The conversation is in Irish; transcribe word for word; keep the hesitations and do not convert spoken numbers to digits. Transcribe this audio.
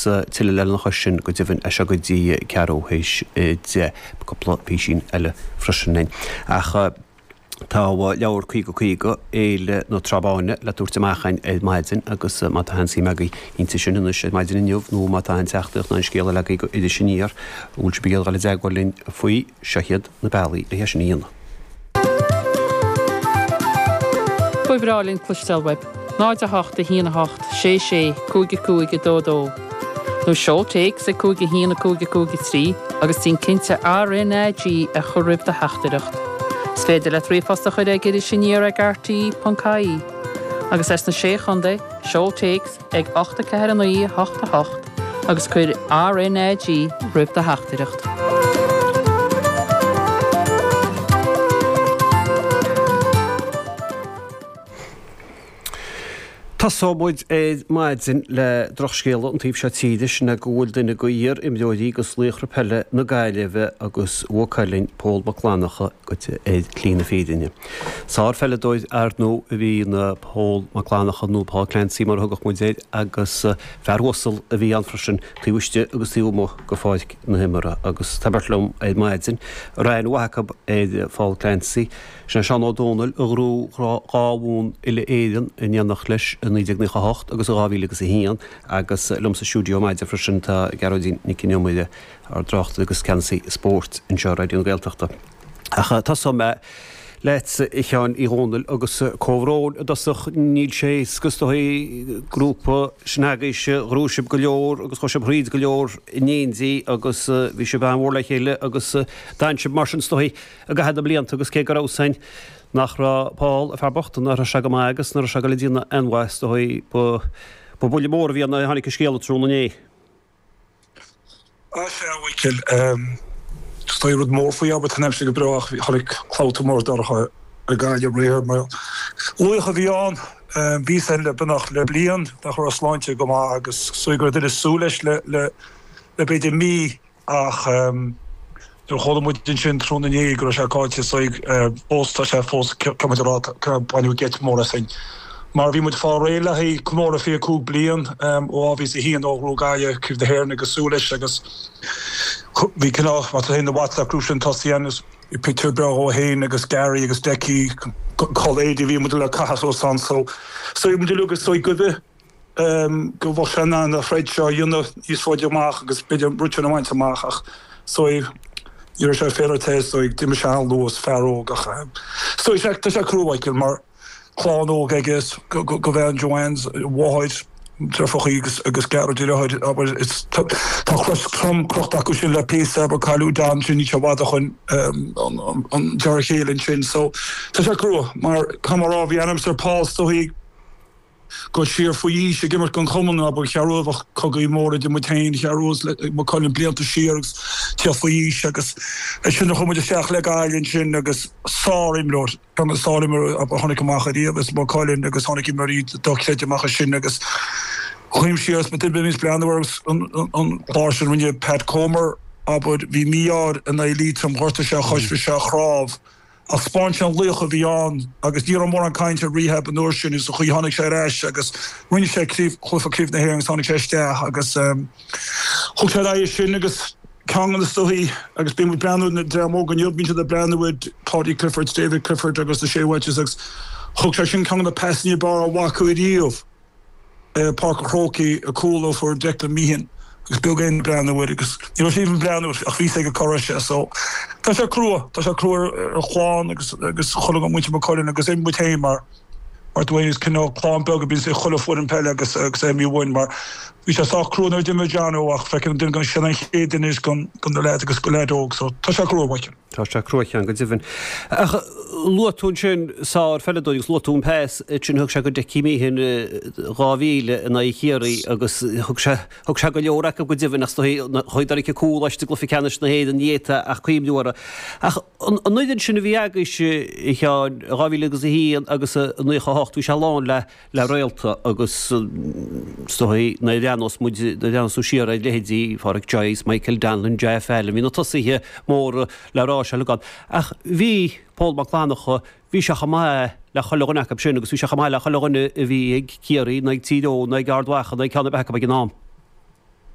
tuilleadh lena chois sin go deimhin as seo go dtí ceathrú théis deich. Cúpla písín eile freisin againn. Ach tá leabhar caoga caoga, Fhéile na Trá Báine le tabhairt amach againn ar maidin agus má tá aon suim agaibh inti sin anois ar maidin inniu nó má tá aon teachtaireacht nó aon scéal eile agaibh go Iris Aniar a bhfuil sibh ag iarraidh dul i dteagmháil linn faoi, seo iad na bealaí le hé sin a dhéanamh. Ba bhreá linn cloisteáil uaibh. náid a hocht a haon a hocht sé sé cúig a cúig a dó dó. Nó seol téacs ag cúig a haon a cúig a cúig a trí agus déan cinnte R N A G a chur roimh do theachtaireacht. Is féidir leat ríomhphost a chur ag Iris Aniar ag R T E ponc I E. Agus as na Sé Chontae, seol téacs ag ocht a ceathair a naoi a hocht a hocht agus cuir R N A G roimh do theachtaireacht. Tosóidh muid ar maidin le drochscéala an taobh seo tíre, sin é go bhfuil duine de iar-imreoirí agus laochra peile na Gaillimhe agus Mhaigh Cuilinn, Pól Mac Fhlannchadha, goite ar shlí na fírinne. Sár-pheileadóir ar ndóigh a bhí in Pól Mac Fhlannchadha nó Paul Clancy mar a thugadh muid air agus fear uasal a bhí ann freisin taobh istigh agus taobh amuigh de pháirc na himeartha. Agus tá beirt liom ar maidin, a raibh aithne mhaith acu ar Phól Clancy. Sin é Seán Ó Dónaill a ghnóthaigh dhá bhonn uile-Éireann in éineacht leis i naoi déag nócha a hocht agus i dhá mhíle agus a haon agus liom sa stiúideo ar maidin freisin tá Gearóidín Nic Con Iomaire, ár dtráchtaire agus ceannasaí spóirt anseo ar Raidió na Gaeltachta. Ach tosóidh mé leat, a Sheáin Uí Dhónaill, agus comhbhrón i dtosach. Níl sé éasca is dóigh grúpa sin agaibhse, ghnóthaigh sibh go leor agus chuaigh sibh thríd go leor in éindí agus bhí sibh an-mhór le chéile agus d'fhan sibh mar sin is dóigh i gcaitheamh na mblianta agus cé go raibh san nach raibh Paul, an fear bocht, nach raibh sé go maith agus nach raibh sé ag dul ag déanamh aon mhaith is dóigh ba ba buille mór a bhí ann nuair a tháinig an scéala tráthnóna inné. Á sea, a Mhichíl, is dóigh rud mór faoi abair tá an aimsir go breá ach tháinig clabhta mór dorcha ar Ghaillimh aréir mar laoch a bhí ann. Bhí sé le beagnach le bliain nach raibh a shláinte go maith agus is dóigh go raibh duine ag súil leis le le le b'fhéidir mí Ach nuair a chuala muid ansin tráthnóna inné go raibh sé caillte is dóigh fós, tá sé fós, caithfidh muid a rá, baineadh geit mór asainn. Mar bhí muid fáil réidh le haghaidh comóradh fiche cúig bliain ó dhá mhíle is a haon ó ghnóthaigh Gaillimh Craobh na hÉireann agus súil leis agus bhí cineál, má tá féin na WhatsApp group sin tosaithe ann is bhí pictiúr breá dhó féin agus Gary agus Decky, culaith éadaí a bhí muid le caitheamh suas ann so is dóigh muid uilig is dóigh goimhe. go bhfuil sé in ann an throid seo a dhéanamh níos faide amach agus b'fhéidir an rud sin a bhaint amach ach is dóigh ní raibh sé féaráilte is dóigh d'imigh sé an-luath is fear óg ach is dóigh sé tá sé crua Michael mar clann óg aige is go go bhean Joanne a mháthair deirfiúrachaí agus agus Gearóid a dheartháir abair is tá tá cros trom crochta acu sin le píosa abair cailleadh Don sin níl sé i bhfad ó shoin an an an deartháir chéile ansin so tá sé crua mar caithfidh mé a rá bhí aithne a'm ar Paul is dóigh Go siar faoi aois ag imirt don chumann, abair, cha raibh ach cogaí móra idir muid féin, cha raibh le Maigh Cuilinn blianta siar agus tíocht faoi aois agus ansin a chuaigh muid isteach le Gaillimh ansin agus sár-imreoir, ceann de na sár-imreoirí a tháinig amach ariamh as Maigh Cuilinn agus tháinig imreoirí dochreidte amach as sin agus chuimhnigh siar is duine a bhíos breathnú ar an chlár sin rinne Pat Comer, abair, bhí mí-ádh air in aghaidh Liatroim, ghortaigh sé a chois, bhí sé ar chnámh. Ach 'spáin sé an laoch a bhí ann agus ní raibh mórán cainte ar rehab an uair sin is an chaoi tháinig sé ar ais agus rinne sé craobh, cluiche craobh na hÉireann agus tháinig sé isteach agus thug sé ar aghaidh sin agus ceann de na soithí agus bíonn muid ag breathnú ar na dream óg inniu, bíonn siad ag breathnú ar Paudie Clifford, David Clifford agus na Shea Welches agus thug sé sin ceann de na pasanna ab fhearr a bhfaca ariamh. Páirc an Chrócaigh, an cúl a fuair Declan Meehan agus beag éinne ag breathnú air agus ní raibh sé even breathnú air ach bhí sé ag cá raibh sé so tá sé crua, tá sé crua ar an chlann agus agus chuile muintir Maigh Cuilinn agus muid féin mar mar dóigh is cineál clann beag a bhíonn i chuile foireann peile agus agus é mí uainn mar bhí sé sách crua nuair a d'imigh Jono ach feiceann duine sin an chéad duine is gon gon na leaids agus go leaid óg so tá sé crua Michael. Tá sé crua a Sheáin, go deimhin. Ach luaigh tú ansin sár-pheileadóir agus luaigh tú an pas sin a thug sé go Decky Meehan dhá mhíle in aghaidh Chiarraí agus thug sé thug sé go leor acu go deimhin ach is dóigh chuaigh dul cúl leis i gcluiche ceannais na hÉireann ní fhéadfá ach cuimhniú orthu. Ach an fhoireann sin a bhí agaibhse a Sheáin, dhá mhíle agus a haon agus a naocha a hocht bhí sé lán le le réalta agus is dóigh nuair a bhreathnós muid, nuair a bhreathnós tú siar ar leithéidí Phádraic Joyce, Michael Donnellan, Jeff Allen, bhí na tosaithe móra le rá seo uilig ann. Ach bhí Pól Mac Fhlannchadha, bhí sé chomh maith le chuile dhuine acu sin agus bhí sé chomh maith le chuile dhuine a bhí ag Ciarraí nó ag Tír Eoghain nó ag Ard Mhacha nó ag ceann ar bith acu ag an am.